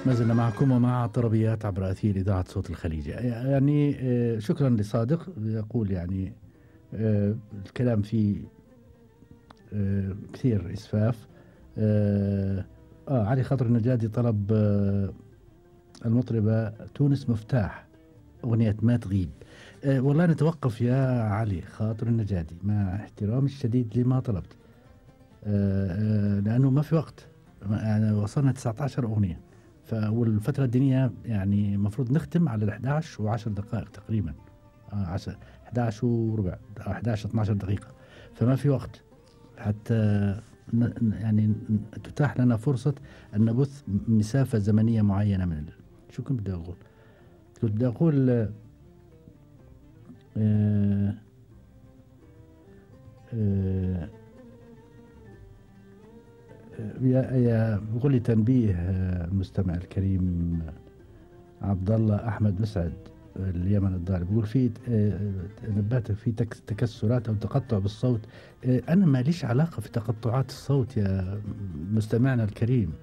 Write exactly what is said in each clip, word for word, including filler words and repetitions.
ما زلنا معكم ومع طربيات عبر أثير إذاعة صوت الخليج. يعني شكرا لصادق يقول يعني الكلام فيه كثير إسفاف. آه علي خاطر النجادي طلب آه المطربة تونس مفتاح أغنية ما تغيب. آه والله نتوقف يا علي خاطر النجادي مع احترامي الشديد لما طلبت، آه آه لأنه ما في وقت. يعني وصلنا تسعة عشر أغنية، والفترة الدينية يعني مفروض نختم على الأحد عشر وعشر دقائق تقريبا، آه عشر أحد عشر وربع أحد عشر اثنا عشر دقيقة، فما في وقت حتى يعني تتاح لنا فرصة أن نبث مسافة زمنية معينة من ال... شو كنت بدي أقول كنت بدي أقول آه آه يا يا بقول لي تنبيه المستمع الكريم عبد الله أحمد مسعد اليمن الضاري، بيقول في نبهت في تكسرات أو تقطع بالصوت. أنا ما ليش علاقة في تقطعات الصوت يا مستمعنا الكريم،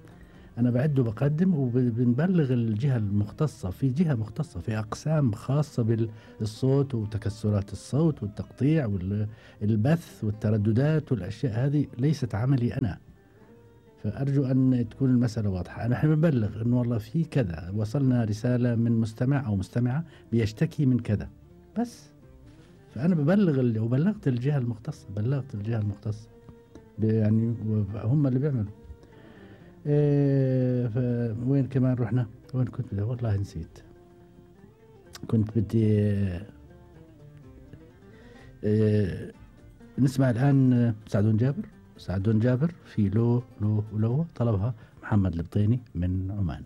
أنا بعد وبقدم وبنبلغ الجهة المختصة، في جهة مختصة في أقسام خاصة بالصوت وتكسرات الصوت والتقطيع والبث والترددات والأشياء هذه ليست عملي أنا، فأرجو أن تكون المسألة واضحة. نحن بنبلغ أنه والله في كذا، وصلنا رسالة من مستمع أو مستمعة بيشتكي من كذا بس، فأنا ببلغ وبلغت الجهة المختصة، بلغت الجهة المختصة يعني هم اللي بيعملوا. إيه وين كمان رحنا؟ وين كنت بدي؟ والله نسيت. كنت بدي إيه نسمع الآن سعدون جابر. سعدون جابر في لو لو ولو طلبها محمد البطيني من عمان.